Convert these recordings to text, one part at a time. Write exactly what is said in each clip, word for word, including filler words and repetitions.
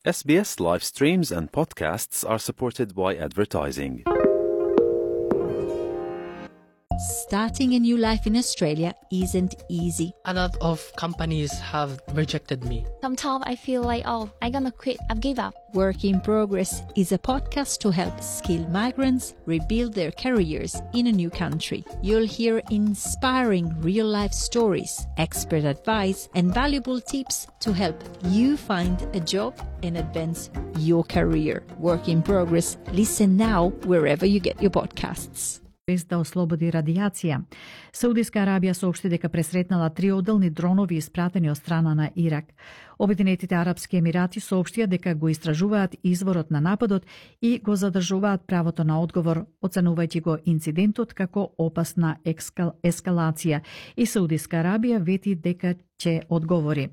S B S live streams and podcasts are supported by advertising. Starting a new life in Australia isn't easy. A lot of companies have rejected me. Sometimes I feel like, oh, I'm gonna quit, I've give up. Work in Progress is a podcast to help skilled migrants rebuild their careers in a new country. You'll hear inspiring real-life stories, expert advice, and valuable tips to help you find a job and advance your career. Work in Progress. Listen now wherever you get your podcasts. Без да ослободи радијација. Саудиска Арабија соопшти дека пресретнала три одделни дронови испратени од страна на Ирак. Обединетите арапски емирати соопштија дека го истражуваат изворот на нападот и го задржуваат правото на одговор, оценувајќи го инцидентот како опасна екскал... ескалација, и Саудиска Арабија вети дека ќе одговори.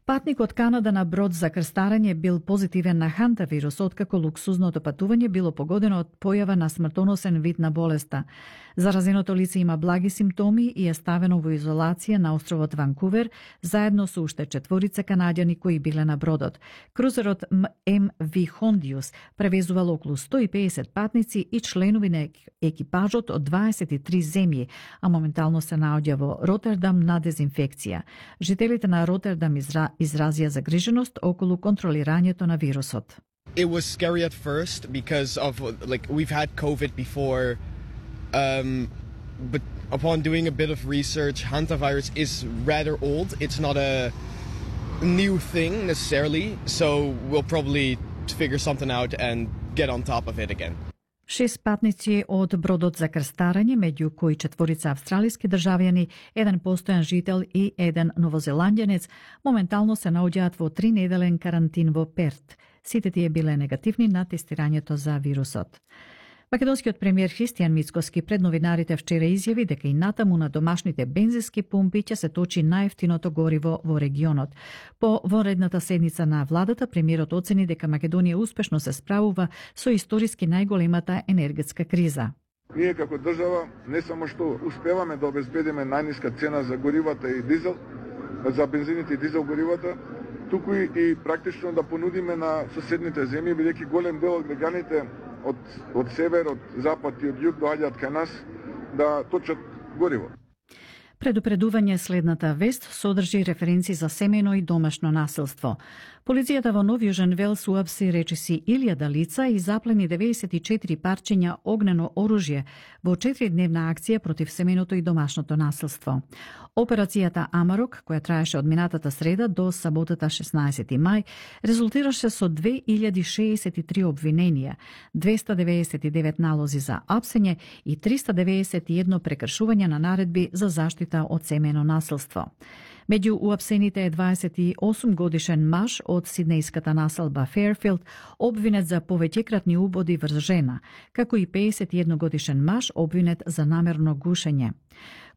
Патник од Канада на брод за крстарење бил позитивен на хантавирус, откако луксузното патување било погодено од појава на смртоносен вид на болеста. Заразеното лице има благи симптоми и е ставено во изолација на островот Ванкувер, заедно со уште четворица канаѓани кои биле на бродот. Крузерот М Ви Хондиус превезувал околу сто и педесет патници и членови на екипажот од дваесет и три земји, а моментално се наоѓа во Ротердам на дезинфекција. Жителите на Ротердам изра... изразија загриженост околу контролирањето на вирусот. It was scary at first because of like we've had COVID before, um, but upon doing a bit of research, hantavirus is rather old. It's not a new thing necessarily, so we'll probably figure something out and get on top of it again. Шест патници од бродот за крстарење, меѓу кои четворица австралиски државјани, еден постојан жител и еден новозеландјанец, моментално се наоѓаат во три неделен карантин во Перт. Сите тие биле негативни на тестирањето за вирусот. Македонскиот премиер Христијан Мицкоски пред новинарите вчера изјави дека и натаму на домашните бензински пумпи ќе се точи најевтиното гориво во регионот. По вонредната седница на владата, премиерот оцени дека Македонија успешно се справува со историски најголемата енергетска криза. Ние како држава не само што успеваме да обезбедиме најниска цена за горивата и дизел, за бензините и дизел горивата, туку и практично да понудиме на соседните земји, бидејќи голем дел од граѓаните од, од север, од запад и од југ доаѓаат кај нас да точат гориво. Предупредување следната вест содржи референци за семејно и домашно насилство. Полицијата во Нов Јужен Велс уапси речиси илјада лица и заплени деветдесет и четири парчиња огнено оружје во четиридневна акција против семејното и домашното насилство. Операцијата Амарок, која траеше од минатата среда до саботата шеснаесети мај, резултираше со две илјади шеесет и три обвиненија, двеста деветдесет и девет налози за апсење и триста деветдесет и едно прекршување на наредби за заштита од семејно насилство. Меѓу уапсените е дваесет и осум годишен маж од сиднејската населба Фејрфилд, обвинет за повеќекратни убоди врз жена, како и педесет и едно годишен маж обвинет за намерно гушење.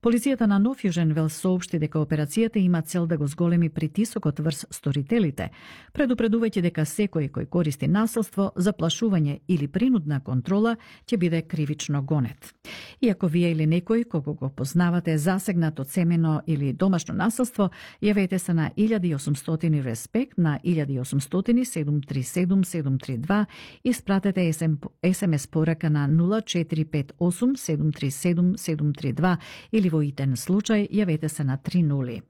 Полицијата на Нов Јужен Велс соопшти дека операцијата има цел да го зголеми притисокот врз сторителите, предупредувајќи дека секој кој користи насилство, заплашување или принудна контрола ќе биде кривично гонет. И ако вие или некој кого го познавате засегнат од семено или домашно насилство, јавете се на илјада и осумстотини респект на илјада и осумстотини седум три седум седум три два и спратете ес ем ес порака на нула четири пет осум седум три седум седум три два или во итен случај јавете се на три нули.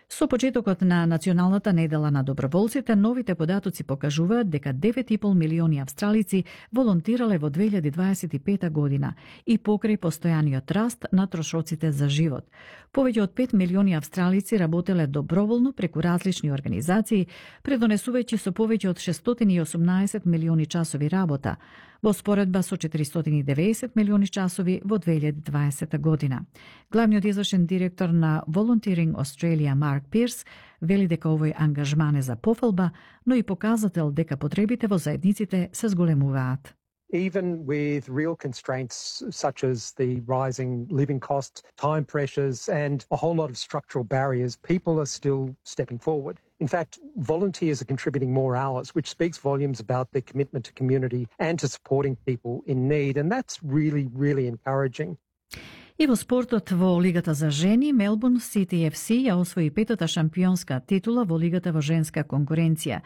Со почетокот на Националната недела на доброволците, новите податоци покажуваат дека девет и пол милиони австралици волонтирале во две илјади дваесет и пета година и покрај постојаниот раст на трошоците за живот. Повеќе од пет милиони австралици работеле доброволно преку различни организации, предонесувајќи со повеќе од шестстотини и осумнаесет милиони часови работа, во споредба со четиристотини и деветдесет милиони часови во две илјади дваесета година. Главниот извршен директор на Volunteering Australia Марк Пирс вели дека овој ангажман е за пофалба, но и показател дека потребите во заедниците се зголемуваат. Even with real constraints such as the rising living costs, time pressures, and a whole lot of structural barriers, people are still stepping forward. In fact, volunteers are contributing more hours, which speaks volumes about their commitment to community and to supporting people in need, and that's really, really encouraging. И во спортот во Лигата за жени, Мелбурн Сити еф си ја освои петата шампионска титула во Лигата во женска конкуренција.